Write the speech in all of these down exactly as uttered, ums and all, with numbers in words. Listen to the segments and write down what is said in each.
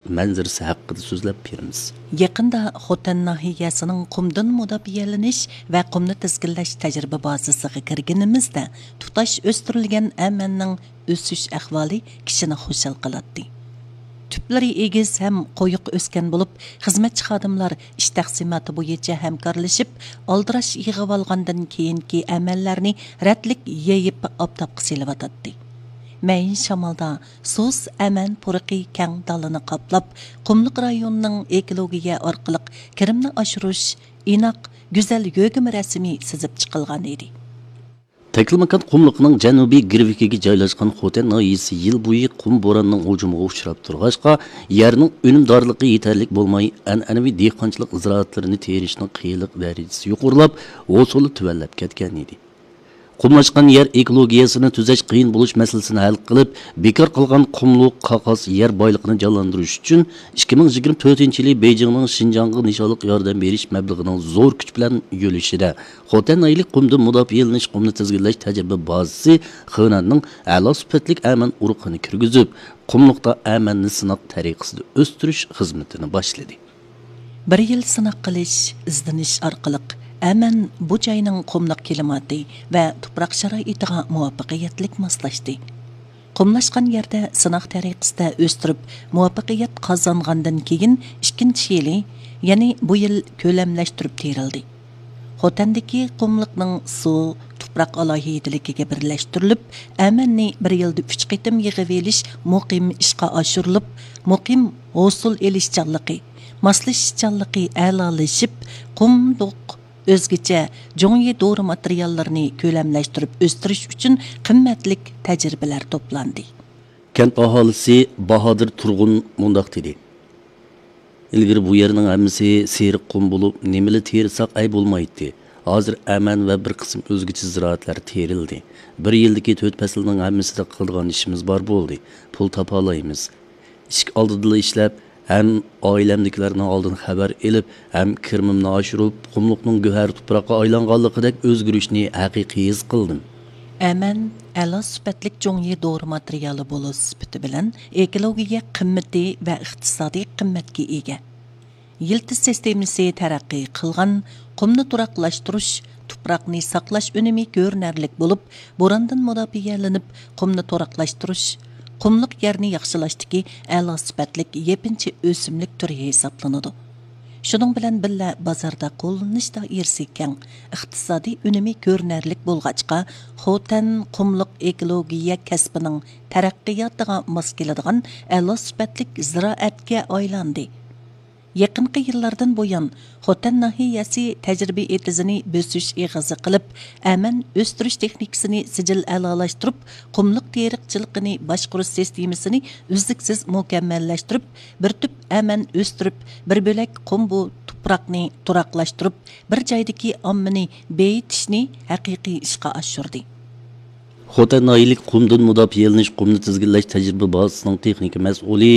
مەنزىرىسى ھەققىدە سۆزلەپ بېرىمىز. يېقىندا خوتەن ناھىيەسىنىڭ قۇمدىن مۇداپىئەلىنىش ۋە قۇمنى تىزگىنلەش تەجرىبە بازىسىغا كىرگىنىمىزدە، تۇتاش ئۆستۈرۈلگەن ئەمەننىڭ ئۆسۈش ئەھۋالى كىشىنى خۇشال قىلاتتى. تۈپلىرى ئېگىز ھەم قويۇق ئۆسكەن بولۇپ، خىزمەتچى خادىملار ئىش تەقسىماتى بويىچە ھەمكارلىشىپ، ئالدىراش يىغىۋالغاندىن كېيىنكى ئەمەنلەرنى رەتلىك يېيىپ ئاپتاپقا سېلىۋاتاتتى. مەيىن شامالدا سۇس ئەمەن پۇرىقى كەڭ دالىنى قاپلاپ، قۇملۇق رايونىنىڭ ئېكولوگىيە ئارقىلىق كىرىمنى ئاشۇرۇش ئىناق، گۈزەل يۆگىمە رەسىمى سىزىپ چىقىلغان ئىدى. تەكلىماكان قۇملۇقىنىڭ جەنۇبىي گىرۋىكىگە جايلاشقان خوتەن ناھىيەسى يىل بويى قۇم بوراننىڭ ھۇجۇمىغا ئۇچراپ تۇرغاچقا، يەرنىڭ ئۈنۈمدارلىقى يېتەرلىك بولماي، ئەنئەنىۋى دېھقانچىلىق زىرائەتلىرىنى تېرىشنىڭ قىيىنلىق دەرىجىسى يۇقىرىلاپ، ھوسۇلى تۆۋەنلەپ كەتكەن ئىدى. قۇملاشقان يەر ئېكولوگىيەسىنى تۈزەش قىيىن بولۇش مەسىلىسىنى ھەل قىلىپ، بىكار قالغان قۇملۇق، قاقاس يەر بايلىقىنى جانلاندۇرۇش ئۈچۈن، ئىككى مىڭ يىگىرمە تۆتىنچى يىلى بېيجىڭنىڭ شىنجاڭغا نىشانلىق ياردەم بېرىش مەبلىغىنىڭ زور كۈچ بىلەن يۆلىشىدە، خوتەن ناھىيەلىك قۇمدىن مۇداپىئەلىنىش، قۇمنى تىزگىنلەش تەجرىبە بازىسى خېنەننىڭ ئەلا سۈپەتلىك ئەمەن ئۇرۇقىنى كىرگۈزۈپ، قۇملۇقتا ئەمەننى سىناق تەرىقىسىدە ئۆستۈرۈش خىزمىتىنى باشلىدى. بىر يىل سىناق قىلىش، ئىزدىنىش ئارقىلىق ئەمەن بۇ جاينىڭ قۇملۇق كىلىماتى ۋە تۇپراق شارائىتىغا مۇۋەپپەقىيەتلىك ماسلاشتى. قۇملاشقان يەردە سىناق تەرىقىسىدە ئۆستۈرۈپ، مۇۋەپپەقىيەت قازانغاندىن كېيىن، ئىككىنچى يىلى، يەنى بۇ يىل كۆلەملەشتۈرۈپ تېرىلدى. خوتەندىكى قۇملۇقنىڭ سۇ، تۇپراق ئالاھىدىلىكىگە بىرلەشتۈرۈلۈپ، ئەمەننى بىر يىلدا ئۈچ قېتىم يىغىۋېلىش مۇقىم ئىشقا ئاشۇرۇلۇپ، مۇقىم ھوسۇل ئېلىشچانلىقى، ماسلىشىشچانلىقى ئەلالىشىپ، قۇملۇق ئۆزگىچە جۇڭيى دورا ماتېرىياللىرىنى كۆلەملەشتۈرۈپ ئۆستۈرۈش ئۈچۈن قىممەتلىك تەجرىبىلەر توپلاندى. كەنت ئاھالىسى باھادىر تۇرغۇن مۇنداق دېدى: ئىلگىرى بۇ يەرنىڭ ھەممىسى سېرىق قۇم بولۇپ، نېمىلا تېرىساق ئەي بولمايتتى. ھازىر ئەمەن ۋە بىر قىسىم ئۆزگىچە زىرائەتلەر تېرىلدى. بىر يىلدىكى تۆت پەسىلنىڭ ھەممىسىدە قىلىدىغان ئىشىمىز بار بولدى. پۇل تاپالايمىز. ئىشىك ئالدىدىلا ئىشلەپ، ھەم ئائىلەمدىكىلەرنىڭ ئالدىن خەۋەر ئېلىپ، ھەم كىرىمىمنى ئاشۇرۇپ، قۇملۇقنىڭ گۆھەر تۇپراققا ئايلانغانلىقىدەك ئۆزگىرىشنى ھەقىقىي ھېس قىلدىم. ئەمەن ئەلا سۈپەتلىك جۇڭيى دورا ماتېرىيالى بولۇش سۈپىتى بىلەن ئېكولوگىيە قىممىتى ۋە ئىقتىسادىي قىممەتكە ئىگە. يىلتىز سىستېمىسى تەرەققىي قىلغان، قۇمنى تۇراقلاشتۇرۇش، تۇپراقنى ساقلاش ئۈنۈمى كۆرۈنەرلىك بولۇپ، بوراندىن مۇداپىئەلىنىپ، قۇمنى تۇراقلاشتۇرۇش، قۇملۇق يەرنى ياخشىلاشتىكى ئەلا سۈپەتلىك يېپىنچا ئۆسۈملۈك تۈرى ھېسابلىنىدۇ. شۇنىڭ بىلەن بىللە، بازاردا قوللىنىش دائىرىسى كەڭ، ئىقتىسادىي ئۈنۈمى كۆرۈنەرلىك بولغاچقا، خوتەن قۇملۇق ئېكولوگىيە كەسپىنىڭ تەرەققىياتىغا ماس كېلىدىغان ئەلا سۈپەتلىك زىرائەتكە ئايلاندى. يېقىنقى يىللاردىن بۇيان، خوتەن ناھىيەسى تەجرىبە ئېتىزىنى بۆسۈش ئېغىزى قىلىپ، ئەمەن ئۆستۈرۈش تېخنىكىسىنى سىجىل ئەلالاشتۇرۇپ، قۇملۇق تېرىقچىلىقىنى باشقۇرۇش سىستېمىسىنى ئۈزلۈكسىز مۇكەممەللەشتۈرۈپ، بىر تۈپ ئەمەن ئۆستۈرۈپ، بىر بۆلەك قۇم بۇ تۇپراقنى تۇراقلاشتۇرۇپ، بىر جايدىكى ئاممىنى بېيىتىشنى ھەقىقىي ئىشقا ئاشۇردى. خوتەن ناھىيەلىك قۇمدىن مۇداپىئەلىنىش، قۇمنى تىزگىنلەش تەجرىبە بازىسىنىڭ تېخنىكا مەسئۇلى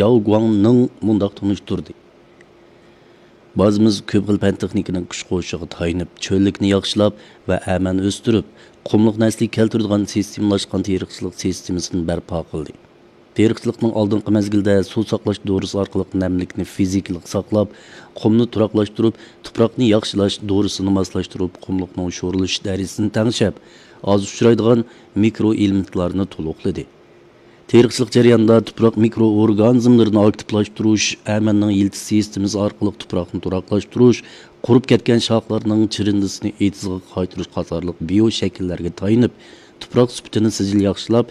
جاۋ گۇاڭنىڭ مۇنداق تونۇشتۇردى: بازىمىز كۆپ خىل پەن تېخنىكىنىڭ كۈچ قوشۇشىغا تايىنىپ، چۆللۈكنى ياخشىلاپ ۋە ئەمەن ئۆستۈرۈپ، قۇملۇقنى ئەسلىگە كەلتۈرىدىغان سىستېمىلاشقان تېرىقچىلىق سىستېمىسىنى بەرپا قىلدى. تېرىقچىلىقنىڭ ئالدىنقى مەزگىلدە سۇ ساقلاش دورىسى ئارقىلىق نەملىكنى فىزىكىلىق ساقلاپ، قۇمنى تۇراقلاشتۇرۇپ، تۇپراقنى ياخشىلاش دورىسىنى ماسلاشتۇرۇپ، قۇملۇقنىڭ شورىلىشىش دەرىجىسىنى تەڭشەپ، ئاز ئۇچرايدىغان مىكرو ئېلېمېنتلارنى تولۇقلىدى. تېرىقچىلىق جەريانىدا تۇپراق مىكرو ئورگانىزملىرىنى ئاكتىپلاشتۇرۇش، ئەمەننىڭ يىلتىز سىستېمىسى ئارقىلىق تۇپراقنى تۇراقلاشتۇرۇش، قۇرۇپ كەتكەن شاخلارنىڭ چىرىندىسىنى ئېتىزغا قايتۇرۇش قاتارلىق بىيو شەكىللەرگە تايىنىپ، تۇپراق سۈپىتىنى سىجىل ياخشىلاپ،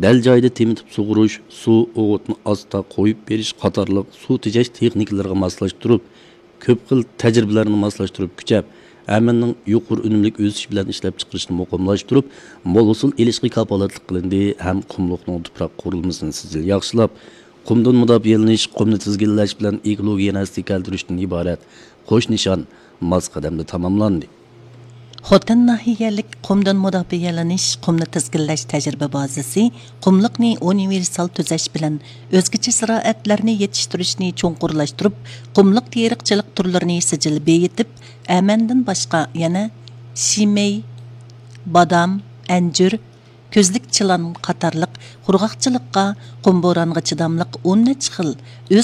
دەل جايىدا تېمىتىپ سۇغۇرۇش، سۇ، ئوغۇتنى ئاستا قويۇپ بېرىش قاتارلىق سۇ تېجەش تېخنىكىلىرىغا ماسلاشتۇرۇپ، كۆپ خىل تەجرىبىلەرنى ماسلاشتۇرۇپ كۈچەپ، ئەمەننىڭ يۇقىرى ئۈنۈملۈك ئۆسۈش بىلەن ئىشلەپچىقىرىشنى مۇقىملاشتۇرۇپ، مول ھوسۇل ئېلىشقا كاپالەتلىك قىلىندى ھەم قۇملۇقنىڭ تۇپراق قۇرۇلمىسىنى سىجىل ياخشىلاپ، قۇمدىن مۇداپىئەلىنىش، قۇمنى تىزگىنلەش بىلەن ئېكولوگىيەنى ئەسلىگە كەلتۈرۈشتىن ئىبارەت قوش نىشان ماس قەدەمدە تاماملاندى. خوتەن ناھىيەلىك قۇمدىن مۇداپىئەلىنىش، قۇمنى تىزگىنلەش تەجرىبە بازىسى قۇملۇقنى ئۇنىۋېرسال تۈزەش بىلەن ئۆزگىچە زىرائەتلەرنى يېتىشتۈرۈشنى چوڭقۇرلاشتۇرۇپ، قۇملۇق تېرىقچىلىق تۈرلىرىنى سىجىل بېيىتىپ، ئەمەندىن باشقا يەنە شىمەي، بادام، ئەنجۈر، كۆزلۈك چىلان قاتارلىق قۇرغاقچىلىققا، قۇم بورانغا چىداملىق ئون نەچچە خىل ئۆز